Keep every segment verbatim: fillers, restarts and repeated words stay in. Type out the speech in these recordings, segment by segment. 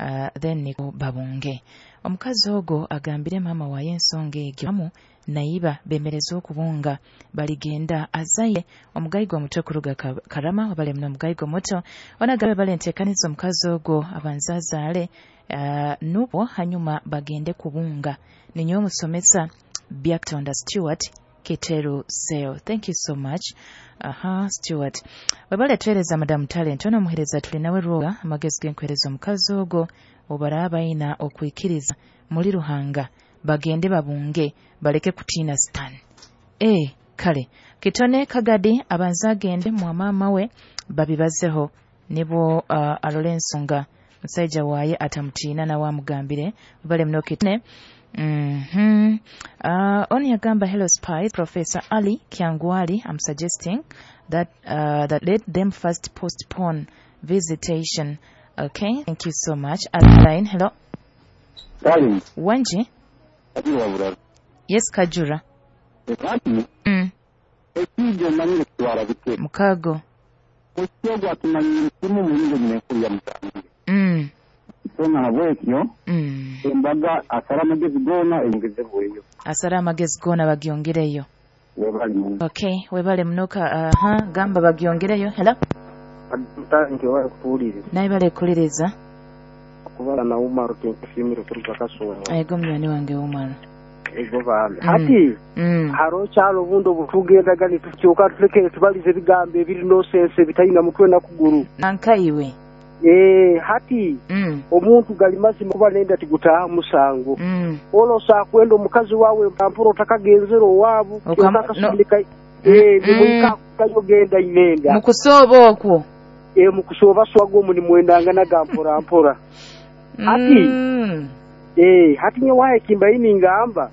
uh, then niko babunge. Omukazi ogo agambire mama waye ensonga egyo amu naiba bemereza okubunga baligenda azaye omugaigo omuto kuruga Karama wabale muno omugaigo muto onagabe bale ntekaniza omukazi ogo abanzazaale uh, nubwo hanyuma bagende kubunga. Ninyo omusomesa Byaktonda Stewart Keteru Seo. Thank you so much. Aha, Stewart. Wabale tueleza Madam Talent ono muhereza tuli nawe ruoga amagezi genkwereza omukazi ogo obaraba ina okwikiriza muri Ruhanga bagende babunge baleke kutina stan. Eh, kale kitone kagadi abanza agende mwa mama we babibazeho nibo uh, alole ensonga musaija waye atamutiina na wamugambire bale mno kitone. Mm-hmm. Uh, oni agamba hello Spice Professor Ali Kyangwali, I'm suggesting that uh, that let them first postpone visitation. Okay, thank you so much. Aline, hello. Darling. Wanji? Yes, Kajura. Mm. Mukago. Mm. Mm. Embaga asara amagezi gona eyongezebweyo. Asara amagezi gona bagiongereyo. Okay, webale munoka aha uh, gamba bagiongereyo. Hello. Nti wale kuwuliriza. Naye bale kuliriza. Kubala na Umaru kinkushimira kuruga Kasongo. Ego mnyani wange Umaru. Ego bambi. Hati mm. haro kyalo bundo butugendaga nitukyuka tulekere tubalize ebigambo ebiri nonsense bitalina mutwe na kuguru. Nankaiwe. Eh, hati mm. omuntu gali mazima kuba nenda tigutaha musango. Mm. Olosa kwenda omukazi wawe mpampuro takagenzera owabu kyokakasindika. Eh, nimwika kayogenda inenda. Mukusoba okwo. Eh, mukusoba swago muni mwendanga nagampora mpora. Hati mm. eh, hati nyewaye kimbayini ngamba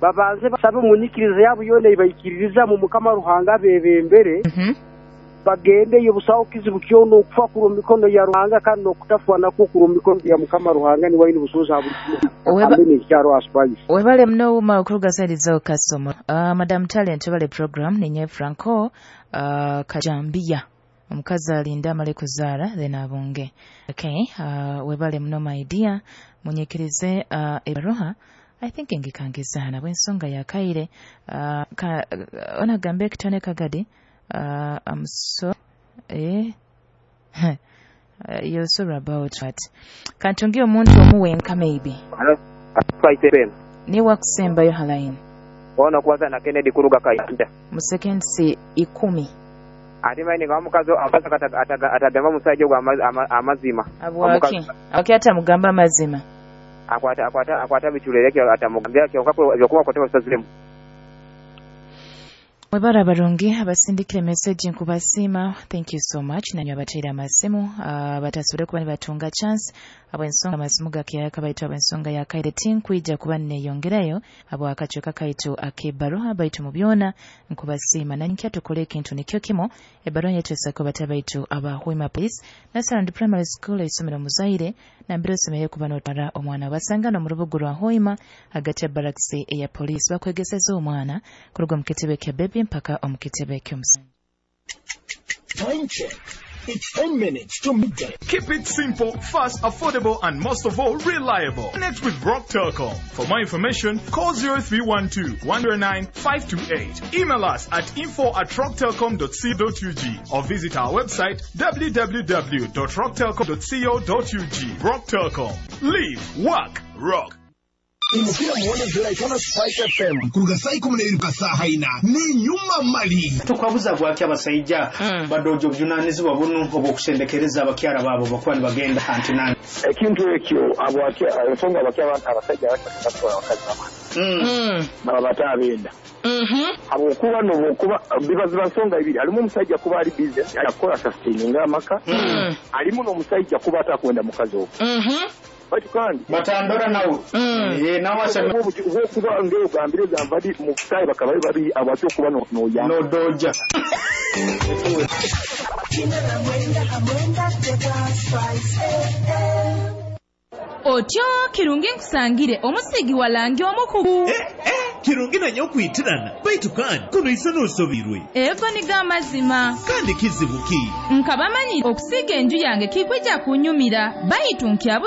babanze basabe munyikiriza yabo yone ibayikiririza mu Mukama Ruhanga bebembere. Mm -hmm. Bagende yo busawo kizibu kyono okufa ku mikono ya Ruhanga kandi okutafwa nako ku mikono ya Mukama Ruhanga ni wayini busoza buli kyaro aspice. Webale mno uma okuruga side zo kasomo. Uh, Madam Talent webale program ninye Franco uh, Kajambia. Omukazi alinda amale kuzaala then abunge. Okay, uh, webale mno my dear munyikirize uh, ebaroha. I think ngikangizana bwensonga ya kaire uh, ka, uh, onagambe kitone kagadi. Uh, I'm so eh uh, you're sorry about that. Kantungi omuntu omuwenka maybe. Hello. Ni wakusemba yo halaini. Ono kwanza na Kennedy kuruga Kayanda. Mu seconds ikumi. Ati maini nga omukazi atagamba musajja gwa amazima. Abwaki. Abwaki atamugamba amazima. Akwata akwata akwata bichuleleke atamugambya kyonka byokuba kote basaziremu. Mwebara barungi abasindikire message nkubasima. Thank you so much. Nanyo abateera amasimu uh, batasobole kuba nibatunga chance abwensonga amasimu gakiyaka baitu abwensonga yakaire tinkwija kuba neyongerayo abo akachoka kaitu akebaroha baitu mu byona nkubasima nankya tukole ekintu nikyo kimo ebaroha yetwesako batabaitu abahwima police Nasarand Primary School isomero muzaire nambiro semeye kuba notwara omwana basangana mu rubugu rwa Hoima hagati ya barracks ya police bakwegeseza omwana kuruga mu kitebe kya baby mpaka omukitebe ky'omusanju. Time check. It's ten minutes to midday. Keep it simple, fast, affordable, and most of all, reliable. Connect with Rock Telcom. For more information, call zero three one two, one zero nine, five two eight. Email us at info at rocktelcom dot co dot U G or visit our website w w w dot rocktelcom dot co dot U G. Rock Telcom. Live, work, rock. Imukira muone zera itona Spice F M kuruga saa ikumi n'ebiri kasaha ina ni nyuma mali tukwabuza bwaki abasajja mm. badojo obuvunanyizibwa buno obw'okusendekereza abakyala baabo bakuba nibagenda antinani ekintu ekyo abwaki ensonga abaki abasajja batwala abakazi bamwe baba batabenda habwokuba nobwokuba biba nsonga ibiri alimu omusajja kuba ali business akola sustaininga amaka alimu n'omusajja kuba atakwenda mukazi ogwo batu kandi batandora nawe eh nawe asema okuba ngeo gambire gambadi mu sai bakaba babi abacho kuba no no ya no doja Otyo kirungi nkusangire omusigi walangi omukugu. Eh, eh, kirungi nanyo okwitirana baitu kandi kuno isano osobirwe. Ego niga amazima. Kandi kizibu ki? Nkabamanyi okusiga enju yange kikwija kunyumira baitu nkyabu